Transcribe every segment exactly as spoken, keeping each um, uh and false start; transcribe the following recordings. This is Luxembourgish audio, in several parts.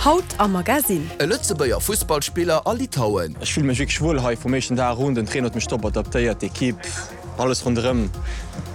Haut am Magazin. E Lëtzebuerger Fussballspiller a Litauen. Ech fille mech wierklech wuel hei vum éischten Dag un, den Trainer huet mech top adaptéiert, d'Ekipp, alles ronderëm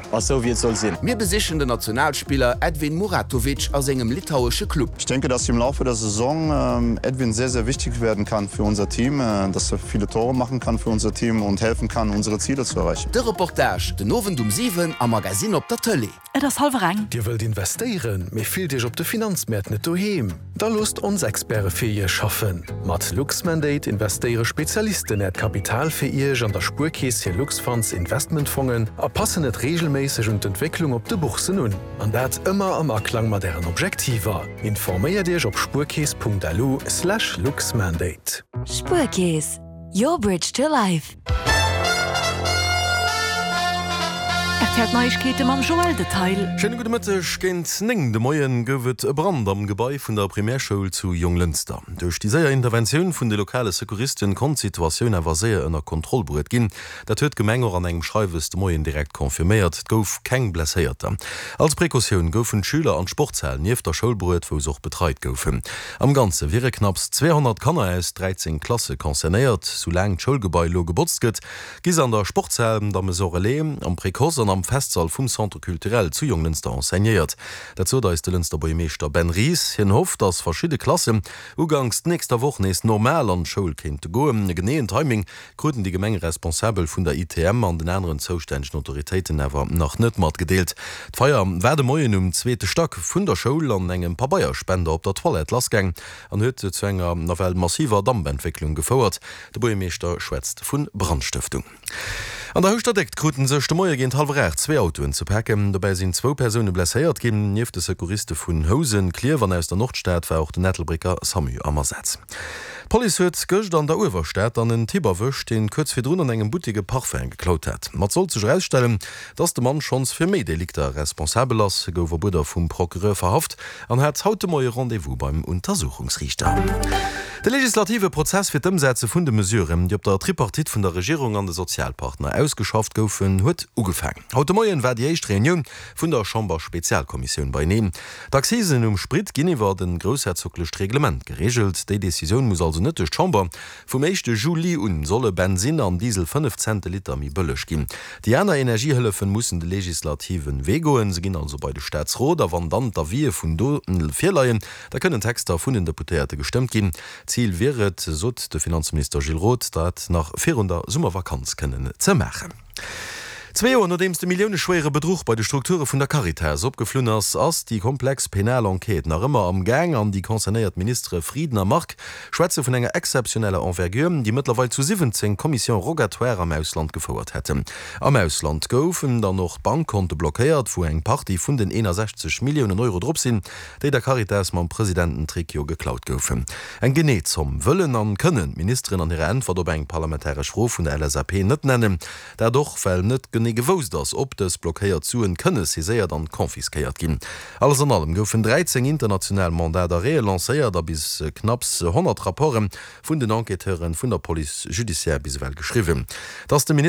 ass sou wéi et soll sinn. Mir besichen den Nationalspiller Edvin Muratovic a sengem litauesche Club. Ich denke, dass im Laufe der Saison ähm, Edwin sehr, sehr wichtig werden kann für unser Team, äh, dass er viele Tore machen kann für unser Team und helfen kann, unsere Ziele zu erreichen. De Reportage den Owend um siwen am Magazin op der Tëlee. Et ass hallwer eng. Dir wëllt investéieren, mee fillt Iech op de Finanzmäert net doheem? Da loosst ons Experte fir Iech schaffen. Mat Luxmandate investéiere Spezialisten Äert Kapital fir Iech an der Spuerkeess hir Luxfunds Investmentfongen a passen et reegelméisseg un d'Entwécklung op de Bourssen un. An dat ëmmer am Aklang mat Ären Objektiver. Informéiert Iech op spuerkeess Punkt L U slash luxmandate. Spuerkeess, your bridge to life. R T L Neiegkeete mam Joël Detail. Schéine gudde Mëtteg. Géint néng de Moien gouf et e Brand am Gebai vun der Primärschoul zu Jonglënster. Duerch déi séier Interventioun vun de lokale Secouristen konnt d'Situatioun awer séier ënner Kontroll bruet ginn. Dat huet d'Gemeng och an engem Schreiwes de Moien direkt confirméiert. Et gouf keng Blesséierter. Als Precautioun goufen d'Schüler an d'Sportshal nieft der Schoul bruet, wou se och betreit goufen. Am Ganze wiere knapps zweehonnert Kanner aus dräizéng Klasse concernéiert. Soulaang d'Schoulgebai elo gebotzt gëtt, gi se an der Sportshal, der Maison Relais, am Précoce an am Festsall vum Centre Culturel zu Jonglënster enseignéiert. Dat sot eis de Lënster Buergermeeschter Ben Ries. Hien hofft, datt verschidde Klassen uganks nächster Woch nees normal an d'Schoul kéinte goen. E geneeën Timing kruten déi Gemengeresponsabel vun der I T M an den aneren zoustännegen Autoritéiten awer nach net matgedeelt. D'Feier war de Moien um zweete Stack vun der Schoul an engem Pabeierspender op der Toilette lassgaang an huet zu enger nawell massiver Dampentwécklung gefouert. De Buergermeeschter schwätzt vu Brandstëftung. An der Houschter Déckt kruten sech de Moie géint hallwer aacht zwee Autoen ze paken. Dobäi sinn zwou Persoune blesséiert ginn. Nieft de Secouriste vun Housen, Klierf an aus der Nordstad war och den Ettelbrécker SAMU am Asaz. D'Police huet gëscht an der Uewerstad dann en Typ erwëscht, deen kuerz virdrun an engem Buttek e Parfum geklaut hat. Ma et sollt sech erausstellen, dass de Mann schonns fir méi Delikter responsabel ass. Hie gouf op Uerder vum Procureur verhaft an hat haut de Moie Rendez-vous beim Untersuchungsriichter. De legislative Prozess fir d'Ëmsetze vun de Mesuren, déi op der Tripartite vun der Regierung an de Sozialpartner ausgeschafft goufen, huet ugefaangen. Haut de Moien war déi éischt Reunioun vun der Chamberspezialkommissioun beieneen. D'Accisen um Sprit ginn iwwer e groussherzoglecht Reglement gereegelt. Déi Decisioun muss also net duerch d'Chamber. Vum éischte Juli un solle Bensinn an Diesel fënnef Cent de Liter méi bëlleg ginn. Déi aner Energiehëllefen mussen de legislative Wee goen. Se ginn also bei de Staatsrot a wann dann d'Avisë vun do virleien, da kënnen Texter vun den Deputéierte gestëmmt ginn. Zil wier et, sot de Finanzminister Gilles Roth, dat nach virun der Summervakanz kënnen ze maachen. Zwee Joer nodeems de milliouneschwéiere Bedruch bei de Strukture vun der Caritas opgeflunn ass, ass déi komplex penal Enquête nach ëmmer am Gaang an déi concernéiert Ministere Frieden a Margue schwätze vun enger exzeptioneller Envergure, déi mëttlerweil zu siwwenzéng Commissions rogatoires am Ausland gefouert hätten. Am Ausland goufen dann och Bankkonte blockéiert, wou eng Partie vun den eenasechzeg Milliounen Euro drop sinn, déi der Caritas mam Presidententrick jo geklaut goufen. Eng genee Zomm wëllen an kënnen d'Ministeren an hirer Äntwert op eng parlamentaresch Fro vun der L S A P net nennen. Dat och, well net genee gewousst ass, ob dës blockéiert Suen kënne saiséiert an confisquéiert ginn. Alles an allem goufen dräizéng international Mandats d'arrêt lancéiert a bis knapps honnert Rapporte vun den Enquêteure vun der Police judiciaire bis ewell geschriwwen. Dass de